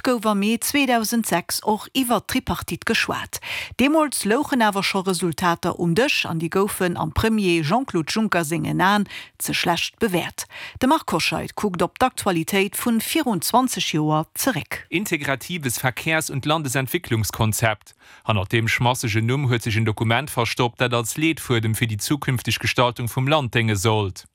gouf am Mee 2006 och iwwert d'Tripartite geschwat. Deemools louchen awer scho Resultater um Dësch an déi goufen am Premier Jean-Claude Juncker sengen Aen ze schlecht bewäert. De Marc Hoscheid kuckt op d'Aktualitéit vun virun 20 Joer zeréck. Integratives Verkehrs und Landesentwicklungskonzept, Hannert deem schmassegen Numm huet sech en Dokument verstoppt, dat als Leetfuedem fir déi zukünfteg Gestaltung vum Land dénge sollt.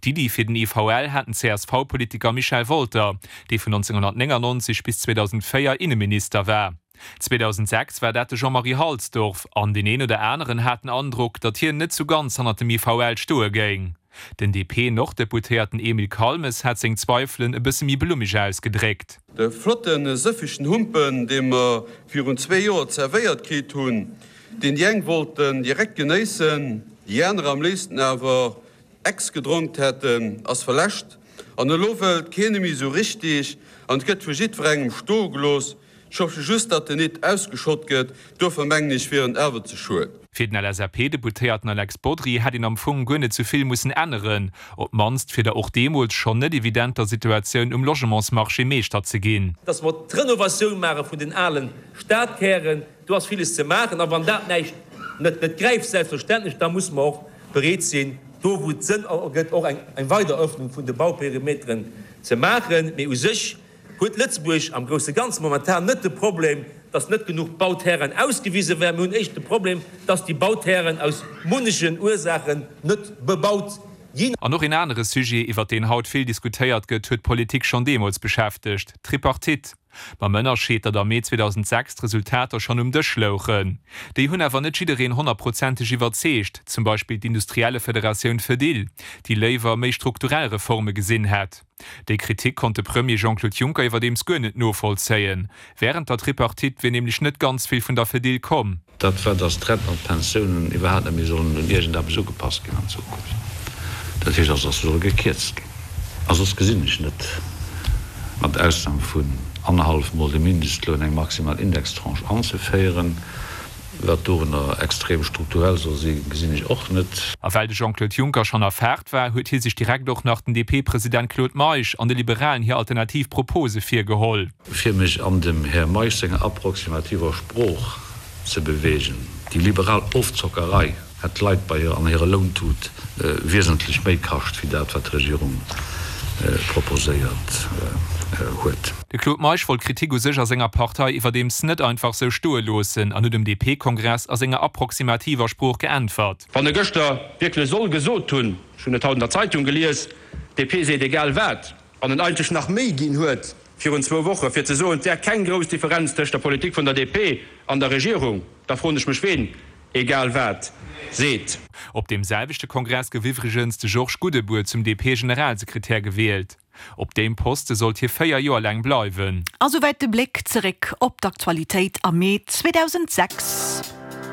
D'Iddi fir den IVL hat den CSV-Politiker Michel Wolter, dee vun 1999 bis 2004 Inneminister war. 2006 war dat de Jean-Marie Halsdorf, an deen een oder aneren hat den Androck, datt hien net sou ganz hannert dem IVL stoe géing. Den DP-Norddeputéierten Emile Calmes hat seng Zweifelen e bësse méi blummeg ausgedréckt. De flotten sëffegen Humpen, dee mer virun zwee Joer zerwéiert kritt hunn, deen déi eng wollten direkt genéissen, déi aner am léifsten awer Ex gedronkt hätten, ass verläscht an elo wëllt keen e méi sou richtig an et gëtt vu jiddwerengem stoe gelooss. Ech hoffe just, datt en nit ausgeschott gëtt, duerfir mengen ech wier en awer ze schued. Fir den LSAP-Deputéierten Alex Bodry hätt een am Fong guer net sou vill mussen änneren, op d'mannst fir der och deemools schonn net evidenter Situatioun um Logementsmarché Meeschter ze ginn. Dass mer d'Renovatioun maache vun den ale Stadkären, do ass villes ze maachen. A wann dat näischt net net gräift, selbstverständlech, da musse mer och bereet sinn, do wou et Sënn ergëtt, och eng weider Öffnung vun de Bauperimeteren ze maachen. Mee u sech huet Lëtzebuerg am grousse Ganze momentan net de Problem, dass net genuch Bauterrainen ausgewise wären. Mir hunn éischter de Problem, dass déi Bauterrainen aus munnechen Ursaachen net bebaut ginn. An och een anere Sujet, iwwert deen haut vill diskutéiert gëtt, huet d'Politik schonn deemools beschäftegt, d'Tripartite. Mam Ënnerscheed, datt am Mee 2006 d'Resultater schonn um Dësch louchen. Déi hunn awer net jiddereen honnertprozenteg iwwerzeegt, zum Beispill d'Industriellefederatioun Fedil, déi léiwer méi strukturell Reforme gesinn hätt. Déi Kritik konnt de Premier Jean-Claude Juncker iwwerdeems guer net novollzéien. Wärend der Tripartite wier nämlech net ganz vill vun der Fedil komm. Dat war, datt d'Renten an d'Pensiounen iwwerhaapt net méi sollen un iergendeppes ugepasst ginn an Zukunft. Dat heescht also, datt se solle gekierzt ginn. A soss gesinn ech net, mat Ausnam vun annerhallef Mol de Mindestloun, eng maximal Indextranche anzeféieren. Wat dorunner extrem strukturell soll sinn, gesinn ech och net. A well de Jean-Claude Juncker schonn a Faart war, huet hie sech direkt och nach den DP-President Claude Meisch an de Liberalen hir alternativ Propose virgeholl. Fir mech an dem Här Meisch senger approximativer Sprooch ze beweegen, déi liberal Ofzockerei hätt d'Leit bei hir an hirer Lountut wiesentlech méi kascht wéi dat, wat d'Regierung proposéiert huet. De Claude Meisch wollt d'Kritik u sech a senger Partei iwwerdeems net einfach sou stoe loossen an huet um DP-Kongress a senger approximativer Sprooch geäntwert. Wann e gëschter wierklech soll gesot hunn, ech hunn et haut an der Zeitung gelies, d'DP seet egal wat, an en eigentlech nach méi ginn huet virun zwou Woche fir ze soen, et wär keng grouss Differenz tëscht der Politik vun der DP an der Regierung, da froen ech mech, ween egal wat seet. Op deem selwechte Kongress gouf iwwregens de Georges Goudebour zum DP-Generalsekretär gewielt. Op deem Poste sollt hie 4 Joer laang bleiwen. A souwäit de Bléck zeréck op d'Aktualitéit am Mee 2006.